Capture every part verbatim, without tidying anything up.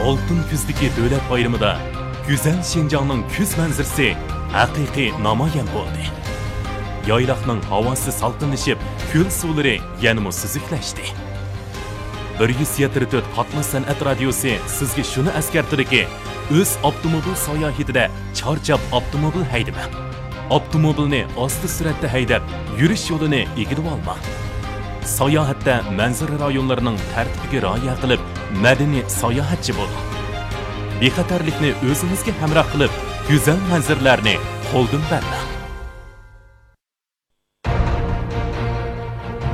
ئالتۇن كۈزدىكى دۆلەت بايرىمىدا گۈزەل شىنجاڭنىڭ كۈز مەنزىرىسى ھەقىقىي نامايان بولدى. يايلاقنىڭ ھاۋاسى سالقىنلىشىپ، كۆل سۇلىرى يەنىمۇ سۈزۈكلەشتى. بىر يۈز يەتتە تۆت قاتناش سەنئەت رادىيوسى سىزگە شۇنى ئەسكەرتىدۇكى، ئۆز ئاپتوموبىل ساياھىتىدە چارچاپ ئاپتوموبىل ھەيدىمەڭ. ئاپتوموبىلنى ئاستا سۈرئەتتە ھەيدەپ، يۈرۈش يولىنى ئىگىلىۋالماڭ. ساياھەتتە مەنزىرە رايونلىرىنىڭ تەرتىپىگە رىئايە قىلىپ، مەدەنىي ساياھەتچى بولۇڭ. بىخەتەرلىكنى ئۆزىڭىزگە ھەمراھ قىلىپ، گۈزەل مەنزىرىلەرنى قولدىن بەرمەڭ.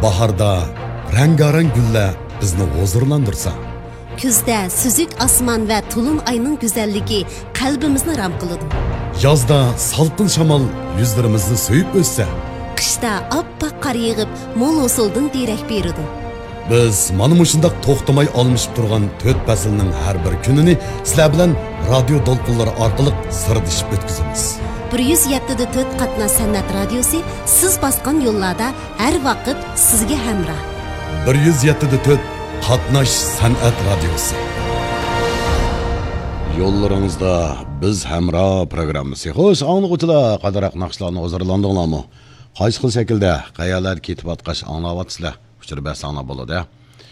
باھاردا رەڭگارەڭ گۈللەر بىزنى ھۇزۇرلاندۇرسا، كۈزدە سۈزۈك ئاسمان ۋە تولۇن ئاينىڭ گۈزەللىكى قەلبىمىزنى رام قىلىدۇ. يازدا سالقىن شامال يۈزلىرىمىزنى سۆيۈپ ئۆتسە، قىشتا ئاپئاق قار يېغىپ، مول ھوسۇلدىن دېرەك بېرىدۇ. بىز مانا مۇشۇنداق توختىماي ئالمىشىپ تۇرغان تۆت پەسىلنىڭ ھەر بىر كۈنىنى سىلەر بىلەن رادىيو دولقۇنلىرى ئارقىلىق سىردىشىپ ئۆتكۈزىمىز. بىر يۈز يەتتە دە تۆت قاتناش سەنئەت رادىيوسى سىز باسقان يوللاردا ھەر ۋاقىت سىزگە ھەمراھ. بىر يۈز يەتتە دە تۆت قاتناش سەنئەت رادىيوسى. يوللىرىڭىزدا بىز ھەمراھ پروگراممىسى. خوش، ئاڭلىغۇچىلار، قانداق ناخشىلارنى ھۇزۇرلاندىڭلارمۇ؟ قايسى خىل شەكىلدە، قەيەرلەردە كېتىۋاتقاچ ئاڭلاۋاتىسىلەر؟ ئۇچۇر بەرسەڭلار بولىدۇ.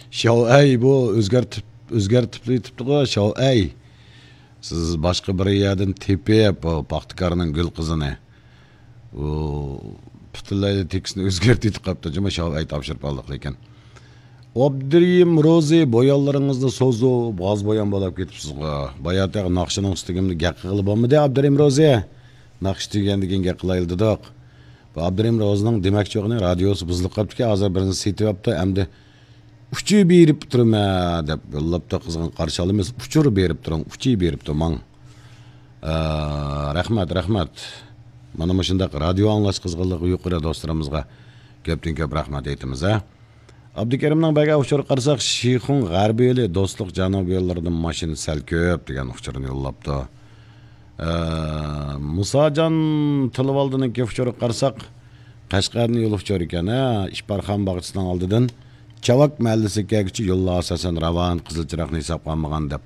شاۋئەي بۇ ئۆزگەرتىپ، ئۆزگەرتىپ ئېيتىپتىغۇ، شاۋئەي. سىز باشقا بىر يەردىن تېپىپ، بۇ پاختىكارنىڭ گۈل قىزىنى، ئۇ پۈتۈنلەيلا تېكىستنى ئۆزگەرتىۋېتىپ قاپتۇ، جۇمۇ شاۋئەي تاپشۇرۇپ ئالدۇق لېكىن. ئابدۇرېھىم روزى، بويانلىرىڭىزنى سوزۇپ، غاز بويان بولاپ كېتىپسىزغۇ. باياتەك ناخشىنىڭ ئۈستىگە گەپ قىلغىلى بولمىدى، ئابدۇرېھىم روزى. ناخشا تۈگىگەندىن كېيىن گەپ قىلايلى دېدۇق. بۇ ئابدۇرېھىم روزىنىڭ دېمەكچى بولغىنى رادىيوسى بۇزۇلۇپ قاپتىكەن، ھازىر بىرنى سېتىۋاپتۇ، ئەمدى ئۇچۇر بېرىپ تۇرىمەن دەپ يوللاپتۇ، قىزغىن قارشى ئالىمىز. ئۇچۇر بېرىپ تۇرۇڭ، ئۇچۇر بېرىپ تۇرماڭ. ئە، رەھمەت، رەھمەت. مانا مۇشۇنداق رادىيو ئاڭلاش قىزغىنلىقى يۇقىرى دوستلىرىمىزغا كۆپتىن كۆپ رەھمەت ئېيتىمىز، ھە. ئابدۇكېرىمنىڭ بەرگەن ئۇچۇرىغا قارىساق، شىخۇڭ غەربىي يولى، دوستلۇق جەنۇبىي يوللىرىدىن ماشىنا سەل كۆپ دېگەن ئۇچۇرنى يوللاپتۇ. ئە، مۇساجان تىلىۋالدىنىڭكى ئۇچۇرىغا قارىساق، قەشقەردىن يول ئۇچۇر ئىكەن، ھە، ئىپارخان باغچىسىنىڭ ئالدىدىن چاۋاك مەھەللىسىگە كەلگۈچە يوللار ئاساسەن راۋان، قىزىل چىراغنى ھېسابقا ئالمىغان دەپ.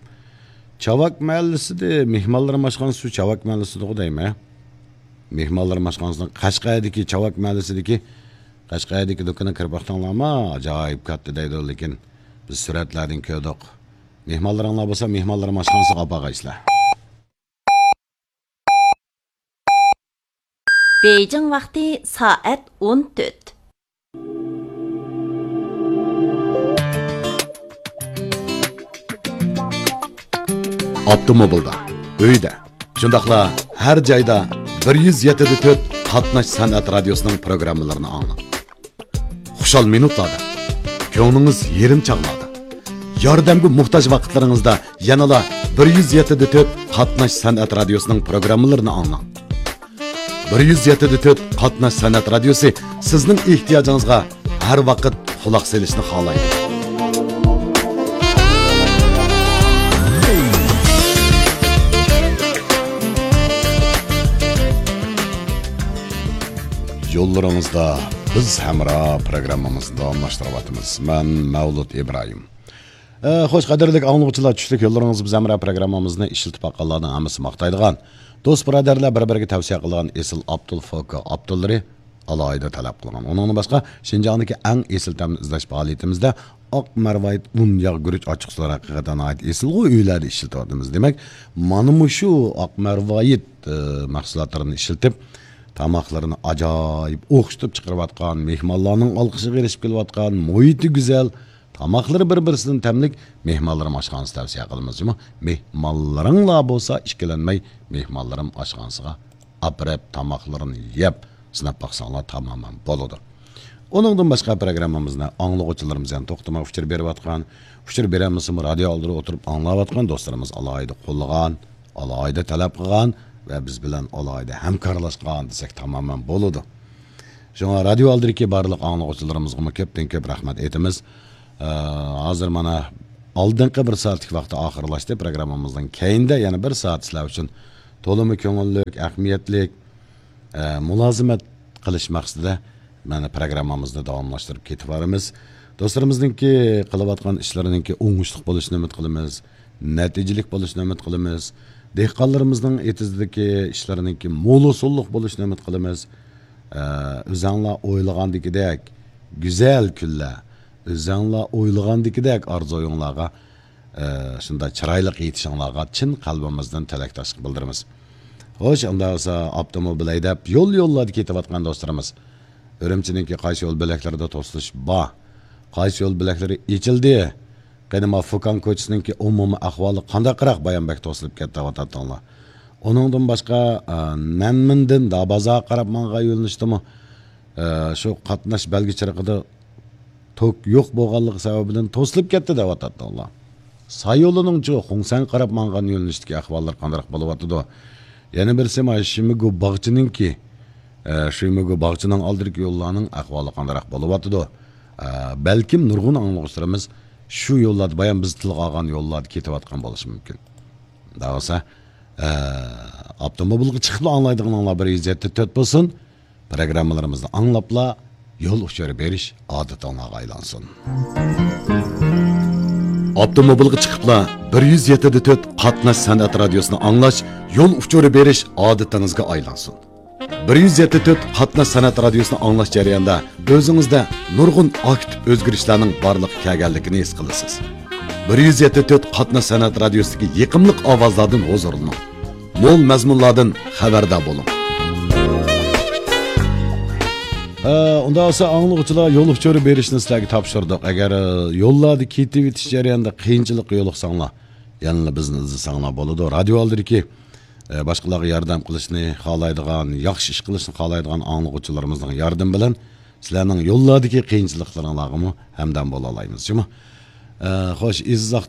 چاۋاك مەھەللىسىدە مېھمانلىرىم ئاشخانىسى شۇ چاۋاك مەھەللىسىدىغۇ دەيمەن. مېھمانلىرىم ئاشخانىسىنىڭ قەشقەردىكى چاۋاك مەھەللىسىدىكى، قەشقەردىكى دۇكىنىغا كىرىپ باقساڭلارمۇ، ئاجايىپ كاتتا دەيدۇ، لېكىن بىز سۈرەتلەردىن كۆردۇق. مېھمانلىرىڭلار بولسا، مېھمانلىرىم ئاشخانىسىغا ئاپارغايسىلەر. بېيجىڭ ۋاقتى سائەت ئون تۆت. ئاپتوموبىلدا، ئۆيدە، شۇنداقلا ھەر جايدا بىر يۈز يەتتە دە تۆت قاتناش سەنئەت رادىيوسىنىڭ پروگراممىلىرىنى ئاڭلاڭ. خۇشال مىنۇتلاردا، كۆڭلىڭىز يېرىم چاغلاردا، ياردەمگە موھتاج ۋاقىتلىرىڭىزدا يەنىلا بىر يۈز يەتتە دە تۆت قاتناش سەنئەت رادىيوسىنىڭ پروگراممىلىرىنى ئاڭلاڭ. بىر يۈز يەتتە دە تۆت قاتناش سەنئەت رادىيوسى سىزنىڭ ئېھتىياجىڭىزغا ھەر ۋاقىت قۇلاق سېلىشنى خالايدۇ. يوللىرىڭىزدا بىز ھەمراھ پروگراممىمىزنى داۋاملاشتۇرۇۋاتىمىز. مەن مەۋلۇت ئىبراھىم. ئە، خوش، قەدىرلىك ئاڭلىغۇچىلار، چۈشلۈك يوللىرىڭىز بىز ھەمراھ پروگراممىمىزنى ئىشلىتىپ باققانلارنىڭ ھەممىسى ماختايدىغان، دوست بۇرادەرلەر بىر-بىرىگە تەۋسىيە قىلىدىغان ئېسىل ئابدۇل فوكا ئابدۇللىرى ئالاھىدە تەلەپ قىلغان. ئۇنىڭدىن باشقا، شىنجاڭدىكى ئەڭ ئېسىل تەمنى ئىزدەش پائالىيىتىمىزدە ئاق مەرۋايىت ئۇن، ياغ، گۈرۈچ ئاچچىقسۇلار ھەقىقەتەن ناھايىتى ئېسىلغۇ، ئۆيلەردە ئىشلىتىۋاتىمىز. دېمەك، مانا مۇشۇ ئاق مەرۋايىت، ئە، مەھسۇلاتلىرىنى ئىشلىتىپ، تاماقلىرىنى ئاجايىپ ئوخشىتىپ چىقىرىۋاتقان، مېھمانلارنىڭ ئالقىشىغا ئېرىشىپ كېلىۋاتقان، مۇھىتى گۈزەل، تاماقلىرى بىر-بىرسىدىن تەملىك مېھمانلىرىم ئاشخانىسى تەۋسىيە قىلىمىز جۇمۇ. مېھمانلىرىڭلار بولسا ئىككىلەنمەي مېھمانلىرىم ئاشخانىسىغا ئاپىرىپ تاماقلىرىنى يەپ سىناپ باقساڭلار تامامەن بولىدۇ. ئۇنىڭدىن باشقا پروگراممىمىزنى ئاڭلىغۇچىلىرىمىز يەنە توختىماي ئۇچۇر بېرىۋاتقان، ئۇچۇر بېرەلمىسىمۇ رادىيو ئالدىدا ئولتۇرۇپ ئاڭلاۋاتقان دوستلىرىمىز ئالاھىدە قوللىغان، ئالاھىدە تەلەپ قىلغان ۋە بىز بىلەن ئالاھىدە ھەمكارلاشقان دېسەك تامامەن بولىدۇ. شۇڭا رادىيو ئالدىدىكى بارلىق ئاڭلىغۇچىلىرىمىزغىمۇ كۆپتىن كۆپ رەھمەت ئېيتىمىز. ئە، ھازىر مانا ئالدىنقى بىر سائەتلىك ۋاقتى ئاخىرلاشتى. پروگراممىمىزنىڭ كەينىدە يەنە بىر سائەت سىلەر ئۈچۈن تولىمۇ كۆڭۈللۈك، ئەھمىيەتلىك، ئە، مۇلازىمەت قىلىش مەقسىتىدە مانا پروگراممىمىزنى داۋاملاشتۇرۇپ كېتىۋېرىمىز. دوستلىرىمىزنىڭكى قىلىۋاتقان ئىشلىرىنىڭكى ئوڭۇشلۇق بولۇشىنى ئۈمىد قىلىمىز. نەتىجىلىك بولۇشىنى ئۈمىد قىلىمىز. دېھقانلىرىمىزنىڭ ئېتىزدىكى ئىشلىرىنىڭكى مولۇسۇنلۇق بولۇشىنى ئۈمىد قىلىمىز. ئە، ئۆزەڭلار ئويلىغاندىكىدەك گۈزەل كۈنلەر، ئۆزەڭلار ئويلىغاندىكىدەك ئارزۇيۇڭلارغا، ئە، شۇنداق چىرايلىق يېتىشىڭلارغا چىن قەلبىمىزدىن تىلەكداشلىق بىلدۈرىمىز. خوش، ئۇنداق بولسا ئاپتوموبىل ھەيدەپ يول-يوللاردا كېتىۋاتقان دوستلىرىمىز، ئۈرۈمچىنىڭكى قايسى يول بۆلەكلىرىدە توسۇلۇش بار؟ قايسى يول بۆلەكلىرى ئېچىلدى؟ قېنى ما فۇكان كوچىسىنىڭكى ئومۇمىي ئەھۋالى قانداقراق؟ بايام بەك توسۇلۇپ كەتتى دەۋاتاتتىڭلار. ئۇنىڭدىن باشقا، ئە، نەنمىندىن دابازارغا قاراپ ماڭغان يۆنىلىشتىمۇ، ئە، شۇ قاتناش بەلگە چىرىقىدا توك يوق بولغانلىقى سەۋەبىدىن توسۇلۇپ كەتتى دەۋاتاتتىڭلار. سايولىنىڭچۇ خۇڭسەنگە قاراپ ماڭغان يۆنىلىشتىكى ئەھۋاللار قانداق بولۇۋاتىدۇ؟ يەنە بىرسى ما شىمىگۇ باغچىنىڭكى، ئە، شىمىگۇ باغچىنىڭ ئالدىدىكى يوللارنىڭ ئەھۋالى قانداق بولۇۋاتىدۇ؟ ئە، بەلكىم نۇرغۇن ئاڭلىغۇچىلىرىمىز شۇ يوللاردا، بايام بىز تىلغا ئالغان يوللاردا كېتىۋاتقان بولۇشى مۇمكىن. دەۋالسا، ئە، ئاپتوموبىلغا چىقىپلا ئاڭلايدىغىنىڭلار بىر يۈز يەتتە تۆت بولسۇن. پروگراممىلىرىمىزنى ئاڭلاپلا يول ئۇچۇرى بېرىش ئادىتىڭلارغا ئايلانسۇن. ئاپتوموبىلغا چىقىپلا بىر يۈز يەتتە تۆت قاتناش سەنئەت رادىيوسىنى ئاڭلاش يول ئۇچۇرى بېرىش ئادىتىڭىزگە ئايلانسۇن. بىر يۈز يەتتە تۆت قاتناش سەنئەت رادىيوسىنى ئاڭلاش جەريانىدا ئۆزىڭىزدە نۇرغۇن ئاكتىپ ئۆزگىرىشلەرنىڭ بارلىققا كەلگەنلىكىنى ھېس قىلىسىز. بىر يۈز يەتتە تۆت قاتناش سەنئەت رادىيوسىدىكى يېقىملىق ئاۋازلاردىن ھۇزۇرلىنىڭ. مول مەزمۇنلاردىن خەۋەردار بولۇڭ. ئە، ئۇنداق بولسا ئاڭلىغۇچىلار يول ئۇچۇرى بېرىشنى سىلەرگە تاپشۇردۇق. ئەگەر، ئە، يوللاردا كېتىۋېتىش جەريانىدا قىيىنچىلىققا يولۇقساڭلار، يەنىلا بىزنى ئىزدىسەڭلار بولىدۇ. رادىيو ئالدىدىكى، ئە، باشقىلارغا ياردەم قىلىشنى خالايدىغان، ياخشى ئىش قىلىشنى خالايدىغان ئاڭلىغۇچىلىرىمىزنىڭ ياردىمى بىلەن سىلەرنىڭ يوللاردىكى قىيىنچىلىقلىرىڭلارغىمۇ ھەمدەم بولالايمىز، جۇمۇ؟ ئە، خوش، ئېزىز ئاق